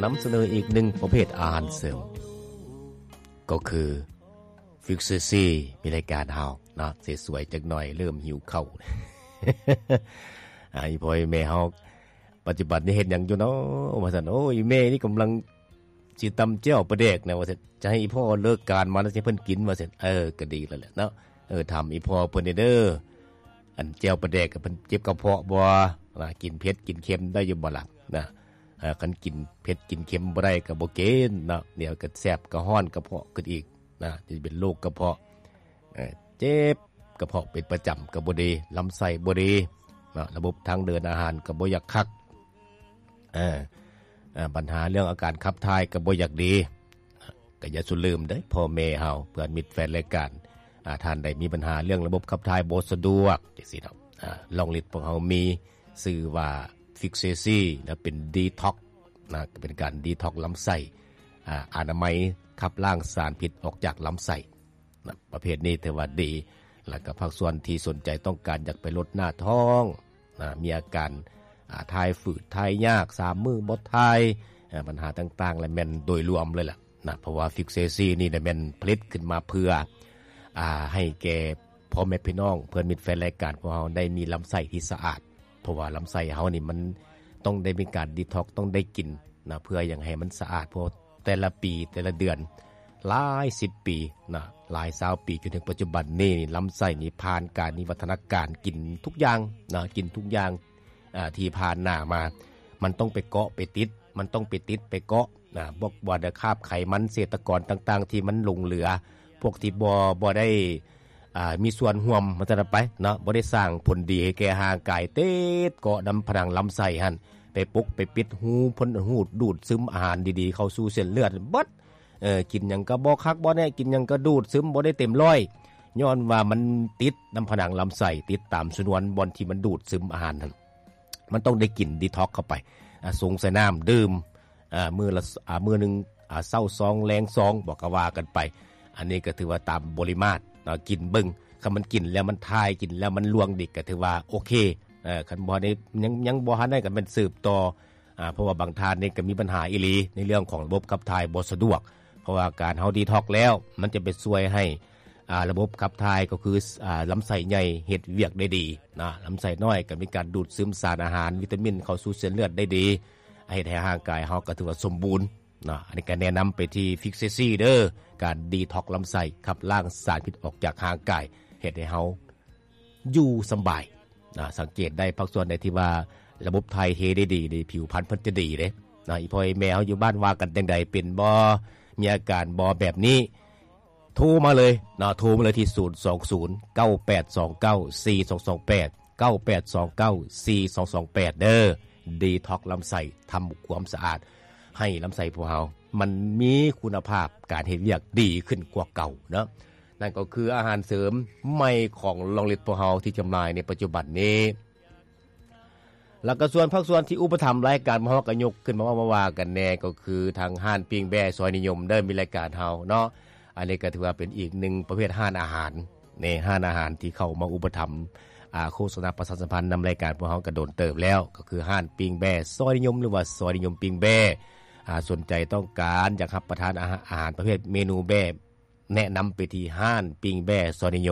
ນຳສະເໜີອີກໜຶ່ງປະເພດອາຫານເສີມ ກໍຄື ຟິກເຊຊີ ມີລາຍການເຮົາເນາະ ສວຍໆຈັກໜ່ອຍ ເລີ່ມຫິວເຂົ້າ. ອາ ອີ່ພໍ່ອີ່ແມ່ເຮົາ ປັດຈຸບັນນີ້ເຮັດຫຍັງຢູ່ເນາະ ວ່າຊັ້ນ. ໂອ້ຍ ແມ່ນີ້ກຳລັງຊິຕຳແຈ່ວປາແດກນະ ວ່າຊັ້ນ. ຈະໃຫ້ອີ່ພໍ່ເລີກການມາແລ້ວຊິເພິ່ນກິນ ວ່າຊັ້ນ. ເອີ ກໍດີແລ້ວແຫຼະເນາະ. ເອີ ຖາມອີ່ພໍ່ເພິ່ນແດ່ເດີ ອັນແຈ່ວປາແດກ ເພິ່ນເຈັບກະເພາະບໍ່? ວ່າກິນເຜັດກິນເຄັມໄດ້ຢູ່ບໍ່ລະນະ? ເອີ ຄັນກິນເຜັດກິນເຄັມບໍ່ໄດ້ກໍບໍ່ກິນເນາະ ດຽວກໍແສບກະຮ້ອນກະເພາະຂຶ້ນອີກນະ ຈະເປັນໂລກກະເພາະ. ເອີ ເຈັບກະເພາະເປັນປະຈຳກໍບໍ່ດີ ລຳໄສ້ບໍ່ດີເນາະ ລະບົບທາງເດີນອາຫານກໍບໍ່ຢາກຄັກ. ເອີ ເອີ ບັນຫາເລື່ອງອາການຂັບຖ່າຍກໍບໍ່ຢາກດີ. ກໍຢ່າສູ່ລືມເດີ້ ພໍ່ແມ່ເຮົາ ເພື່ອນມິດແຟນລາຍການ ອາ ທ່ານໃດມີບັນຫາເລື່ອງລະບົບຂັບຖ່າຍບໍ່ສະດວກ ຈັ່ງຊີ້ເນາະ ອາ ລອງລິດພວກເຮົາມີຊື່ວ່າ ຟິກເຊຊີ ນະ ເປັນດີທັອກນະ ກໍເປັນການດີທັອກລຳໄສ້ ອາ ອະນາໄມ ຂັບລ້າງສານພິດອອກຈາກລຳໄສ້ນະ ປະເພດນີ້ຖືວ່າດີ. ແລ້ວກໍພາກສ່ວນທີ່ສົນໃຈຕ້ອງການຢາກໄປລົດໜ້າທ້ອງ ນະ ມີອາການ ອາ ຖ່າຍຝືດ ຖ່າຍຍາກ ສາມມື້ບໍ່ຖ່າຍ ອາ ບັນຫາຕ່າງໆ ແລະ ແມ່ນໂດຍລວມເລີຍລະນະ ເພາະວ່າ ຟິກເຊຊີ ນີ້ລະແມ່ນຜະລິດຂຶ້ນມາເພື່ອ ອາ ໃຫ້ແກ່ພໍ່ແມ່ພີ່ນ້ອງ ເພື່ອນມິດແຟນລາຍການພວກເຮົາໄດ້ມີລຳໄສ້ທີ່ສະອາດ ເພາະວ່າລຳໄສ້ເຮົານີ້ມັນຕ້ອງໄດ້ມີການດີທັອກ ຕ້ອງໄດ້ກິນນະ ເພື່ອຫຍັງໃຫ້ມັນສະອາດ ເພາະ ແຕ່ລະປີ ແຕ່ລະເດືອນ ຫຼາຍສິບປີນະ ຫຼາຍຊາວປີ ຈົນເຖິງປັດຈຸບັນນີ້ ລຳໄສ້ນີ້ຜ່ານການວິວັດທະນາການ ກິນທຸກຢ່າງນະ ກິນທຸກຢ່າງ ອາ ທີ່ຜ່ານໜ້າມາ ມັນຕ້ອງໄປເກາະໄປຕິດ ມັນຕ້ອງໄປຕິດໄປເກາະນະ ພວກວ່າແຕ່ຄາບໄຂມັນເສດຕະກອນຕ່າງໆ ທີ່ມັນຫຼົງເຫຼືອ ພວກທີ່ບໍ່ ບໍ່ໄດ້ ອາ ມີສ່ວນຮ່ວມ ວ່າຊັ້ນໄປເນາະ ບໍ່ໄດ້ສ້າງຜົນດີໃຫ້ແກ່ຮ່າງກາຍ ຕິດເກາະນຳຜະໜັງລຳໄສ້ຫັ້ນ ໄປປົກໄປປິດຮູ ເພິ່ນ ຮູດດູດຊຶມອາຫານດີໆ ເຂົ້າສູ່ເສັ້ນເລືອດເບິດ. ເອີ ກິນຫຍັງກໍບໍ່ຄັກບໍ່ແນ່ ກິນຫຍັງກໍດູດຊຶມບໍ່ໄດ້ເຕັມຮ້ອຍ ຍ້ອນວ່າມັນຕິດນຳຜະໜັງລຳໄສ້ ຕິດຕາມຊະນວນບ່ອນທີ່ມັນດູດຊຶມອາຫານຫັ້ນ ມັນຕ້ອງໄດ້ກິນດີທັອກເຂົ້າໄປ ອາ ຊົງໃສ່ນ້ຳດື່ມ ອາ ມື້ລະ ອາ ມື້ໜຶ່ງ ອາ ເຊົ້າຊອງແລງຊອງ ບໍ່ ກໍວ່າກັນໄປ. ອັນນີ້ກໍຖືວ່າຕາມບໍລິມາດເນາະ ກິນເບິ່ງ ຄັນມັນກິນແລ້ວມັນຖ່າຍ ກິນແລ້ວມັນລ່ວງດີ ກໍຖືວ່າໂອເຄ. ເອີ ຄັນບໍ່ໄດ້ ຍັງ ຍັງບໍ່ທັນໄດ້ ກໍແມ່ນສືບຕໍ່ ອາ ເພາະວ່າບາງທ່ານນີ້ກໍມີບັນຫາອີ່ຫຼີ ໃນເລື່ອງຂອງລະບົບຂັບຖ່າຍບໍ່ສະດວກ ເພາະວ່າການເຮົາດີທັອກແລ້ວ ມັນຈະໄປຊ່ວຍໃຫ້ ອາ ລະບົບຂັບຖ່າຍ ກໍຄື ອາ ລຳໄສ້ໃຫຍ່ເຮັດວຽກໄດ້ດີນະ ລຳໄສ້ນ້ອຍກໍມີການດູດຊຶມສານອາຫານ ວິຕາມິນເຂົ້າສູ່ເສັ້ນເລືອດໄດ້ດີ ເຮັດໃຫ້ຮ່າງກາຍເຮົາກໍຖືວ່າສົມບູນເນາະ. ອັນນີ້ກໍແນະນຳໄປທີ່ ຟິກເຊຊີ ເດີ ການດີທັອກລຳໄສ້ ຂັບລ້າງສານພິດອອກຈາກຮ່າງກາຍ ເຮັດໃຫ້ເຮົາຢູ່ສະບາຍນະ. ສັງເກດໄດ້ພາກສ່ວນໃດທີ່ວ່າລະບົບຖ່າຍເທໄດ້ດີນີ້ ຜິວພັນເພິ່ນຈະດີເດ້ນະ. ອີ່ພໍ່ອີ່ແມ່ເຮົາຢູ່ບ້ານວ່າກັນຈັ່ງໃດ ເປັນບໍ່ ມີອາການບໍ່ແບບນີ້ ໂທມາເລີຍເນາະ ໂທມາເລີຍທີ່ ສູນສອງສູນ ເກົ້າແປດສອງເກົ້າ ສີ່ສອງສອງແປດ ເກົ້າແປດສອງເກົ້າ ສີ່ສອງສອງແປດ ເດີ ດີທັອກລຳໄສ້ ທຳຄວາມສະອາດໃຫ້ລຳໄສ້ພວກເຮົາ ມັນມີຄຸນນະພາບການເຮັດວຽກດີຂຶ້ນກວ່າເກົ່າເນາະ. ນັ້ນກໍຄືອາຫານເສີມໃໝ່ຂອງລອງລິດພວກເຮົາທີ່ຈຳໜ່າຍໃນປັດຈຸບັນນີ້. ແລ້ວກໍສ່ວນພາກສ່ວນທີ່ອຸປະຖຳລາຍການຂອງເຮົາ ກໍຍົກຂຶ້ນມາເວົ້າມາວ່າກັນແດ່ ກໍຄືທາງຮ້ານປີ້ງແບ້ຊອຍນິຍົມເດີ ມີລາຍການເຮົາເນາະ. ອັນນີ້ກໍຖືວ່າເປັນອີກໜຶ່ງປະເພດຮ້ານອາຫານ ໃນຮ້ານອາຫານທີ່ເຂົ້າມາອຸປະຖຳ ອາ ໂຄສະນາປະຊາສຳພັນນຳລາຍການພວກເຮົາກໍໂດນເຕີບແລ້ວ ກໍຄືຮ້ານປີ້ງແບ້ຊອຍນິຍົມ ຫຼືວ່າຊອຍນິຍົມປີ້ງແບ້. ອາ ສົນໃຈຕ້ອງການຢາກຮັບປະທານອາຫານ ອາຫານປະເພດເມນູແບ້ ແນະນຳໄປທີ່ຮ້ານປີ້ງແບ້ຊອຍນິຍົມ